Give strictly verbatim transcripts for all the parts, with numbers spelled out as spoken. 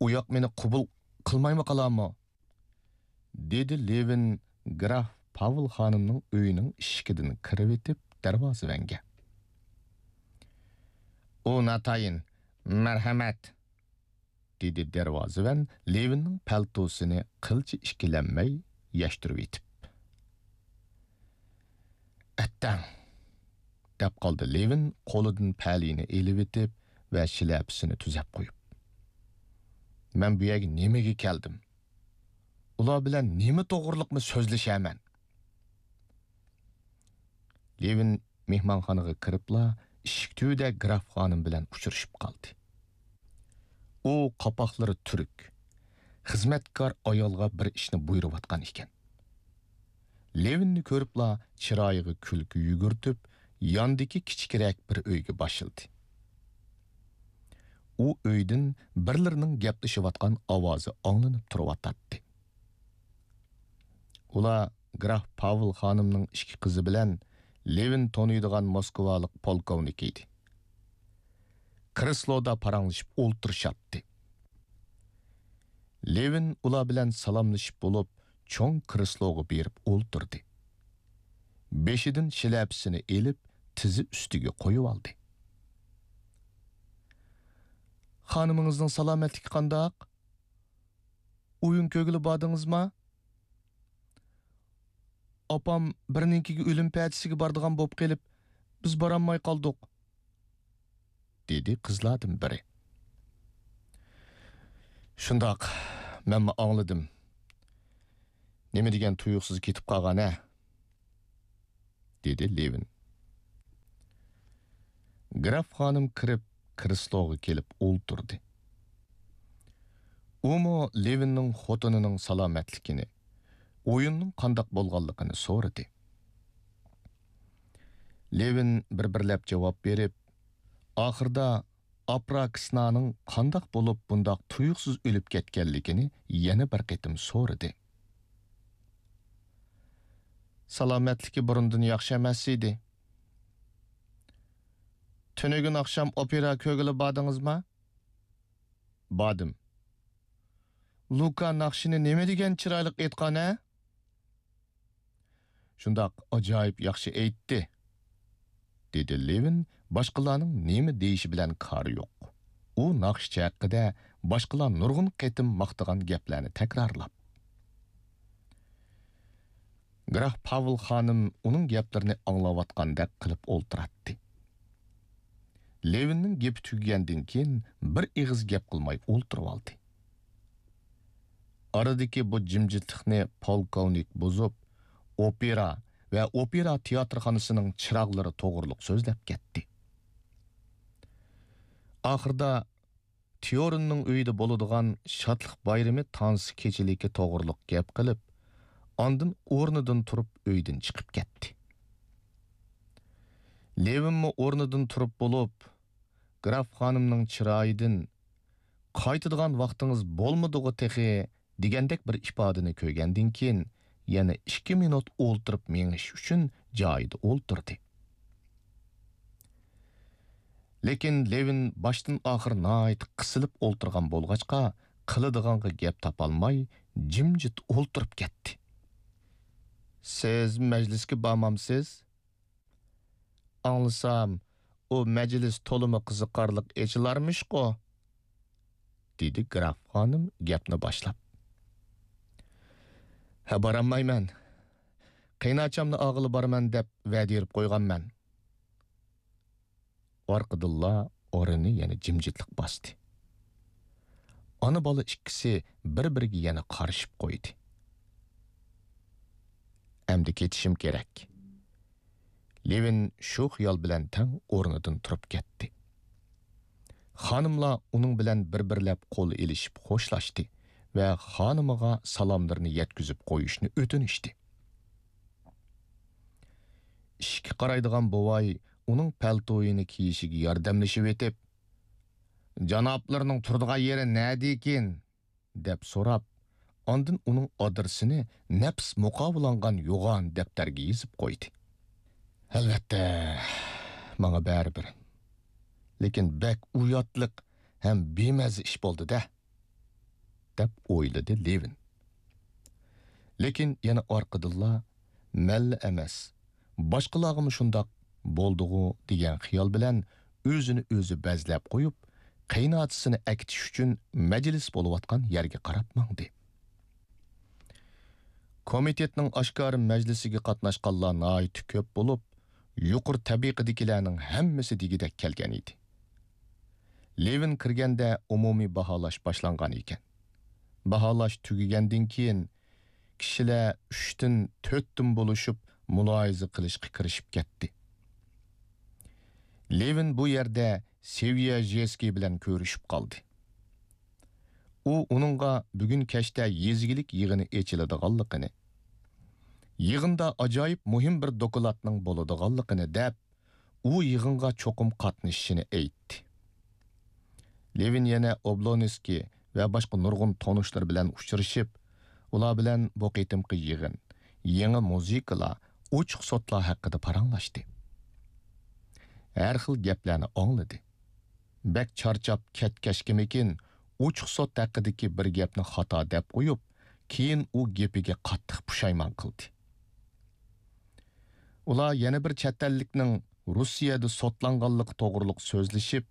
ئۇياق مېنى قوبۇل قىلمايمۇ قالارمۇ؟ دېدى لېۋىن گراف پاۋل خانىمنىڭ ئۆيىنىڭ ئىشىكىدىن كىرىۋېتىپ دەرۋازىۋەنگە. ئۇ ناتايىن، مەرھەمەت! دېدى دەرۋازىۋەن لېۋىننىڭ پەلتوسىنى قىلچە ئىككىلەنمەي يەشتۈرۈۋېتىپ. ئەتتەڭ! دەپ قالدى لېۋىن قولىدىن پەلىنى ئېلىۋېتىپ ۋە شىلەپىسىنى تۈزەپ قويۇپ. مەن بۇ يەرگە نېمىگە كەلدىم؟ ئۇلار بىلەن نېمە توغرىلىقمۇ سۆزلىشەرمەن؟ لېۋىن مېھمانخانىغا كىرىپلا ئىشىك تۈۋىدە گراف خانىم بىلەن ئۇچرىشىپ قالدى. ئۇ قاپاقلىرى تۈرۈك، خىزمەتكار ئايالغا بىر ئىشنى بۇيرۇۋاتقان ئىكەن. لېۋىننى كۆرۈپلا چىرايىغا كۈلكە يۈگۈرتۈپ، ياندىكى كىچىكرەك بىر ئۆيگە باشلىدى. ئۇ ئۆيدىن بىرلىرىنىڭ گەپلىشىۋاتقان ئاۋازى ئاڭلىنىپ تۇرۇۋاتاتتى. ئۇلار گراف پاۋل خانىمنىڭ ئىككى قىزى بىلەن لېۋىن تونۇيدىغان موسكۋالىق پولكوۋنىك ئىدى. كرېسلودا پاراڭلىشىپ ئولتۇرۇشاتتى. لېۋىن ئۇلار بىلەن سالاملىشىپ بولۇپ، چوڭ كرېسلوغا بېرىپ ئولتۇردى. بېشىدىن شىلەپىسىنى ئېلىپ، تىزى ئۈستىگە قويۇۋالدى. خانىمىڭىزنىڭ سالامەتلىكى قانداق؟ ئويۇن كۆرگىلى باردىڭىزما؟ ئاپام بىرنىڭكىگە ئۆلۈم پەتىسىگە بارىدىغان بولۇپ قېلىپ، بىز بارالماي قالدۇق، دېدى قىزلاردىن بىرى. شۇنداق، مەنمۇ ئاڭلىدىم. نېمە دېگەن تۇيۇقسىز كېتىپ قالغان ھە؟ دېدى لېۋىن. گراف خانىم كىرىپ، كرېسلوغا كېلىپ ئولتۇردى. ئۇمۇ لېۋىننىڭ خوتۇنىنىڭ سالامەتلىكىنى، ئويۇننىڭ قانداق بولغانلىقىنى سورىدى. لېۋىن بىر-بىرلەپ جاۋاب بېرىپ، ئاخىرىدا ئاپراكسنانىڭ قانداق بولۇپ بۇنداق تۇيۇقسىز ئۆلۈپ كەتكەنلىكىنى يەنە بىر قېتىم سورىدى. سالامەتلىكى بۇرۇندىن ياخشى ئەمەس ئىدى. تۈنۈگۈن ئاخشام ئوپېرا كۆرگىلى باردىڭىزما؟ باردىم. لۇكا ناخشىنى نېمە دېگەن چىرايلىق ئېيتقان ھە؟ شۇنداق ئاجايىپ ياخشى ئېيتتى، دېدى لېۋىن باشقىلارنىڭ نېمە دېيىشى بىلەن كارى يوق. ئۇ ناخشىچى ھەققىدە باشقىلار نۇرغۇن قېتىم ماختىغان گەپلەرنى تەكرارلاپ. گراف پاۋل خانىم ئۇنىڭ گەپلىرىنى ئاڭلاۋاتقاندەك قىلىپ ئولتۇراتتى. لېۋىننىڭ گېپى تۈگىگەندىن كېيىن بىر ئېغىز گەپ قىلماي ئولتۇرۇۋالدى. ئارىدىكى بۇ جىمجىتلىقنى پولكوۋنىك بۇزۇپ، ئوپېرا ۋە ئوپېرا تىياتىرخانىسىنىڭ چىراغلىرى توغرۇلۇق سۆزلەپ كەتتى. ئاخىرىدا تيورىننىڭ ئۆيىدە بولىدىغان شادلىق بايرىمى تانسا كېچىلىكى توغرۇلۇق گەپ قىلىپ، ئاندىن ئورنىدىن تۇرۇپ ئۆيدىن چىقىپ كەتتى. لېۋىنمۇ ئورنىدىن تۇرۇپ بولۇپ، گراف خانىمنىڭ چىرايىدىن، «قايتىدىغان ۋاقتىڭىز بولمىدىغۇ تېخى» دېگەندەك بىر ئىپادىنى كۆرگەندىن كېيىن، يەنە ئىككى مىنۇت ئولتۇرۇپ مېڭىش ئۈچۈن جايىدا ئولتۇردى. لېكىن لېۋىن باشتىن ئاخىر ناھايىتى قىسىلىپ ئولتۇرغان بولغاچقا، قىلىدىغانغا گەپ تاپالماي، جىمجىت ئولتۇرۇپ كەتتى. «سىز مەجلىسكە بارمامسىز؟ ئاڭلىسام، ئۇ مەجلىس تولىمۇ قىزىقارلىق ئېچىلارمىشقۇ؟» دېدى گراف خانىم گەپنى باشلاپ. «ھە، بارالمايمەن. قېيىنئاچامنى ئالغىلى بارىمەن دەپ ۋەدە بېرىپ قويغانمەن.» ئارقىدىنلا ئورنىنى يەنە جىمجىتلىق باستى. ئانا-بالا ئىككىسى بىر-بىرىگە يەنە قارىشىپ قويدى. «ئەمدى كېتىشىم كېرەك.» لېۋىن شۇ خىيال بىلەن تەڭ ئورنىدىن تۇرۇپ كەتتى. خانىملار ئۇنىڭ بىلەن بىر-بىرلەپ قول ئېلىشىپ خوشلاشتى ۋە خانىمىغا سالاملىرىنى يەتكۈزۈپ قويۇشنى ئۆتۈنۈشتى. ئىشىككە قارايدىغان بوۋاي ئۇنىڭ پەلتويىنى كىيىشىگە ياردەملىشىۋېتىپ، «جانابلىرىنىڭ تۇرىدىغان يېرى نەدىكىن؟» دەپ سوراپ، ئاندىن ئۇنىڭ ئادرېسىنى نەپىس مۇقاۋىلانغان يوغان دەپتەرگە يېزىپ قويدى. «ئەلۋەتتە، ماڭا بەرىبىر. لېكىن بەك ئۇياتلىق ھەم بىمەززە ئىش بولدى-دە.» دەپ ئويلىدى لېۋىن. لېكىن يەنە ئارقىدىنلا، مەنلا ئەمەس، باشقىلارغىمۇ شۇنداق بولدىغۇ دېگەن خىيال بىلەن ئۆزىنى ئۆزى بەزلەپ قويۇپ، قېيىنئاچىسىنى ئەكېتىش ئۈچۈن مەجلىس بولۇۋاتقان يەرگە قاراپ ماڭدى. كومىتېتنىڭ ئاشكارا مەجلىسىگە قاتناشقانلار ناھايىتى كۆپ بولۇپ، يۇقىرى تەبىقىدىكىلەرنىڭ ھەممىسى دېگۈدەك كەلگەن ئىدى. لېۋىن كىرگەندە ئومۇمىي باھالاش باشلانغان ئىكەن. باھالاش تۈگىگەندىن كېيىن، كىشىلەر ئۈچتىن، تۆتتىن بولۇشۇپ مۇلاھىزە قىلىشقا كىرىشىپ كەتتى. لېۋىن بۇ يەردە سېۋيەژېسكىي بىلەن كۆرۈشۈپ قالدى. ئۇ ئۇنىڭغا بۈگۈن كەچتە يېزا ئىگىلىك يىغىنى ئېچىلىدىغانلىقىنى، يىغىندا ئاجايىپ مۇھىم بىر دوكلاتنىڭ بولىدىغانلىقىنى دەپ، ئۇ يىغىنغا چوقۇم قاتنىشىشىنى ئېيتتى. لېۋىن يەنە ئوبلونسكىي ۋە باشقا نۇرغۇن تونۇشلىرى بىلەن ئۇچرىشىپ، ئۇلار بىلەن بۇ قېتىمقى يىغىن، يېڭى مۇزىكىلار، ئوچۇق سوتلار ھەققىدە پاراڭلاشتى. ھەر خىل گەپلەرنى ئاڭلىدى. بەك چارچاپ كەتكەچكىمىكىن، ئوچۇق سوت ھەققىدىكى بىر گەپنى خاتا دەپ قويۇپ، كېيىن ئۇ گېپىگە قاتتىق پۇشايمان قىلدى. ئۇلار يەنە بىر چەت ئەللىكنىڭ روسىيەدە سوتلانغانلىقى توغرۇلۇق سۆزلىشىپ،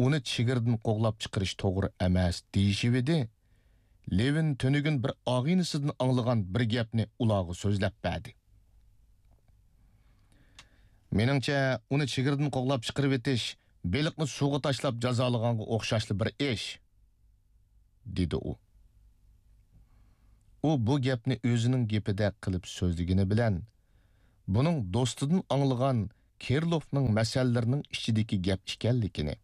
ئۇنى چېگرىدىن قوغلاپ چىقىرىش توغرا ئەمەس دېيىشىۋىدى. لېۋىن تۈنۈگۈن بىر ئاغىنىسىدىن ئاڭلىغان بىر گەپنى ئۇلارغا سۆزلەپ بەردى. مېنىڭچە، ئۇنى چېگرىدىن قوغلاپ چىقىرىۋېتىش بېلىقنى سۇغا تاشلاپ جازالىغانغا ئوخشاشلا بىر ئىش، دېدى ئۇ. ئۇ بۇ گەپنى ئۆزىنىڭ گېپىدەك قىلىپ سۆزلىگىنى بىلەن، بۇنىڭ دوستىدىن ئاڭلىغان كىرىلوفنىڭ مەسەللىرىنىڭ ئىچىدىكى گەپ ئىكەنلىكىنى،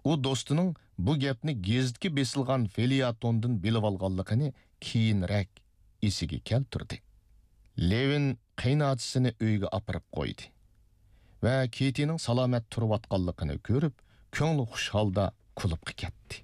ئۇ دوستىنىڭ بۇ گەپنى گېزىتكە بېسىلغان فېليەتوندىن بىلىۋالغانلىقىنى كېيىنرەك ئېسىگە كەلتۈردى. لېۋىن قېيىنئاچىسىنى ئۆيىگە ئاپىرىپ قويدى ۋە كېتىنىڭ سالامەت تۇرۇۋاتقانلىقىنى كۆرۈپ، كۆڭلى خۇش ھالدا كۇلۇبقا كەتتى.